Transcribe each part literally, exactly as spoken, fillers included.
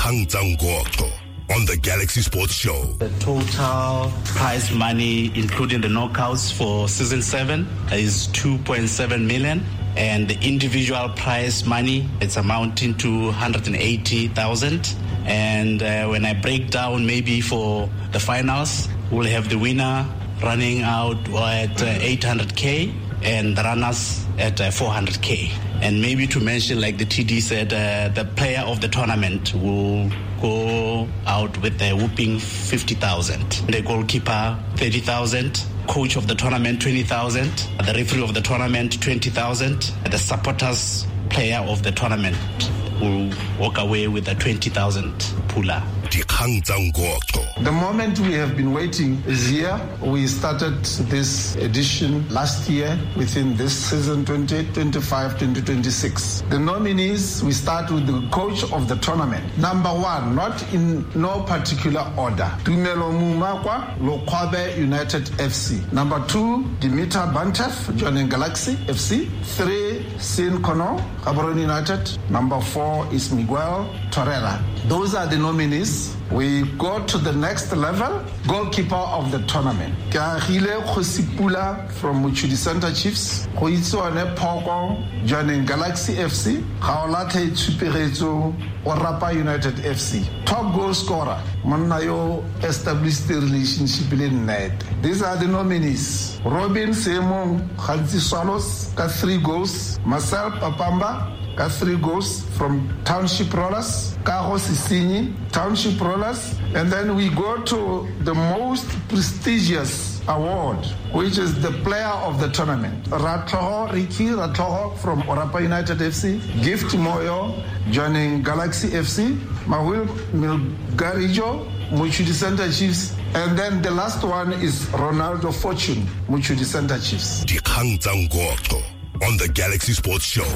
Dikgang tsa Ngotho on the Galaxy Sports Show. The total prize money, including the knockouts for season seven, is two point seven million. And the individual prize money, it's amounting to one hundred eighty thousand. And, uh, when I break down maybe for the finals, we'll have the winner running out at, uh, eight hundred K and the runners at, uh, four hundred K. And maybe to mention, like the T D said, uh, the player of the tournament will go out with a whooping fifty thousand. The goalkeeper, thirty thousand. Coach of the tournament, twenty thousand. The referee of the tournament, twenty thousand. The supporters player of the tournament will walk away with a twenty thousand pula. Dikgang tsa Ngotho. The moment we have been waiting is here. We started this edition last year within this season twenty twenty-five twenty twenty-six. The nominees, we start with the coach of the tournament. Number one, not in no particular order, Tumelo Mumakwa, Lokwabe United F C. Number two, Dimitar Bantev, Jwaneng Galaxy F C. Three, Sin Kono, Gaborone United. Number four is Miguel Torreira. Those are the nominees. We go to the next level, goalkeeper of the tournament. Keagile Kgosipula from Mochudi Center Chiefs, Goitseone Phoko, Jwaneng Galaxy F C, Gaolathe Tshupegetso, Orapa United F C. Top goal scorer, monna yo established the relationship le net. These are the nominees. Robin Semong, Gantsi Swallows, ka three goals. Marcel Papamba, ka three goals from Township Rollers. Kago Sisinyi, Township Rollers. And then we go to the most prestigious award, which is the player of the tournament. Ratloho, Ricky Ratloho from Orapa United F C. Gift Moyo, joining Galaxy F C. Mahul Milgarijo, Mochudi Center Chiefs. And then the last one is Ronaldo Fortune, Mochudi Center Chiefs. Dikgang tsa Ngotho on the Galaxy Sports Show.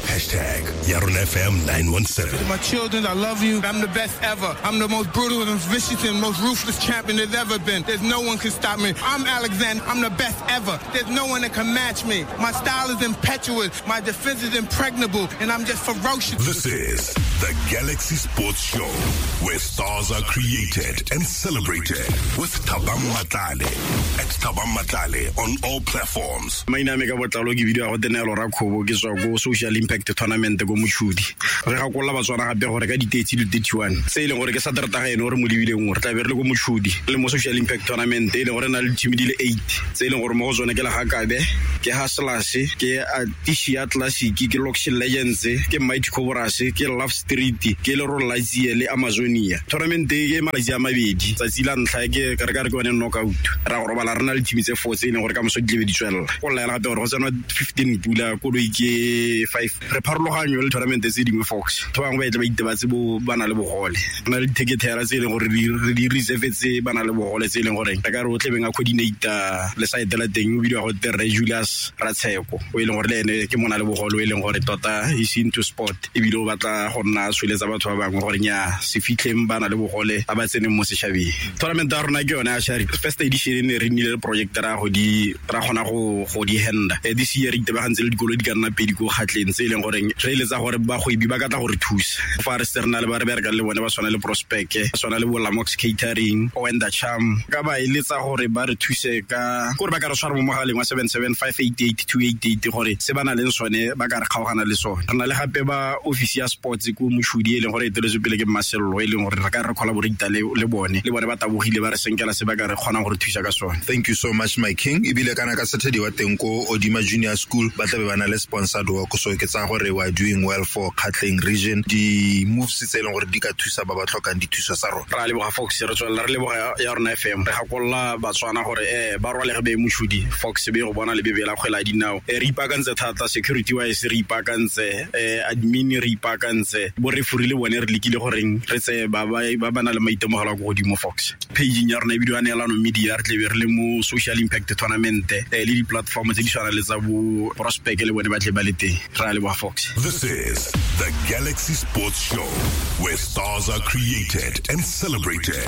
Hashtag Yarona F M nine one seven. To my children, I love you. I'm the best ever. I'm the most brutal and vicious and most ruthless champion there's ever been. There's no one can stop me. I'm Alexander. I'm the best ever. There's no one that can match me. My style is impetuous. My defense is impregnable. And I'm just ferocious. This is the Galaxy Sports Show, where stars are created and celebrated with Thabang Matlale. At Thabang Matlale on all platforms. My name is Botlalo ke bidiwa go Tenelo Rakgobo ke tswa go Social Impact Tournament go Mochudi. Re gakolla Batswana gape gore ka di-thirty le thirty-one tse e leng gore ke Saterdag ene gore mo lebileng gore tla be re le go Mochudi le mo Social Impact Tournament e leng gore na le team di le eight tse e leng gore mo go tsone ke Legakabe, ke Hustlers, ke Atishia Classic, ke Lokshin Legends, ke Mighty Cobras, ke Love Street, ke Lerole Latsie le Amazonia. Tournament e ke malatsi a mabedi, tsatsi la ntlha ke ka re ka re ke yone knockout. Ra go robala re na le team tse four tse e leng gore ka moso di tlebe di tswelela. Go laela gape gore go tsenwa fifteen pula koloi ke five. Re pharologanyo le tournament tse dingwe Fox. Batho ba bangwe ba etle ba itebatse bo ba na le bogole. Re na le dithekethera tse e leng gore re di reserve tse ba na le bogole tse e leng gore re ka re o tlebeng a coordinator le site la teng o bidiwa go te Rre Julius Ratsheko o e leng gore le ene ke mona le bogole o e leng gore tota is into sport ebile o batla go nna tsweletsa batho ba bangwe gore nya se fitlheng ba na le bogole ba ba tseneng mo setšhabeng. Tournament ya rona ke yone ya Shari. First edition e ne re nnile le project ra go di ra kgona go go di handa. This year re itebagantse le dikolo di ka nna pedi ko Kgatleng tse e leng gore re eletsa gore bagwebi ba ka tla go re thusa. Fa re se re na le ba re berekang le bone ba tshwana le Prospect, ba tshwana le bo Lamox Catering, Owenda Charm, ka ba eletsa gore ba re thuse ka gore ba ka re tshwara mo mogaleng wa seven seven five eight eight two eight eight gore se ba na leng sone ba ka re kgaogana le sone. Re na le gape ba office ya sports ko Mochudi e leng gore e eteletswe pele ke Mmasello e leng gore re ka re collaborate le le bone le bone ba tabogile ba re senkela se ba ka re kgonang gore thusa ka sone. Thank you so much my king. Ebile kana ka Saturday wa teng ko Odima Junior School ba tlabe ba na le sponsored work, so ke tsa gore we are doing well for Kgatleng region. Di moves tse e leng gore di ka thusa ba ba tlhokang dithuso tsa rona. Ra leboga Fox, re tswelela re leboga ya rona F M. Re gakolla Batswana gore eh ba rwalege be Mochudi Fox be go bona le bebela kgwele ya dinao. Re ipaakantse thata security wise, re ipaakantse eh admin, re ipaakantse bo referee le bone re lekile goreng re tse ba ba ba na le maitemogelo a ko godimo Fox. Page ya rona e bidiwa Neelano Media, re tlebe re le mo Social Impact Tournament le di-platform tse di tshwana le tsa bo Prospect le bone ba tle ba le teng. Ra leboga Fox. This is the Galaxy Sports Show, where stars are created and celebrated.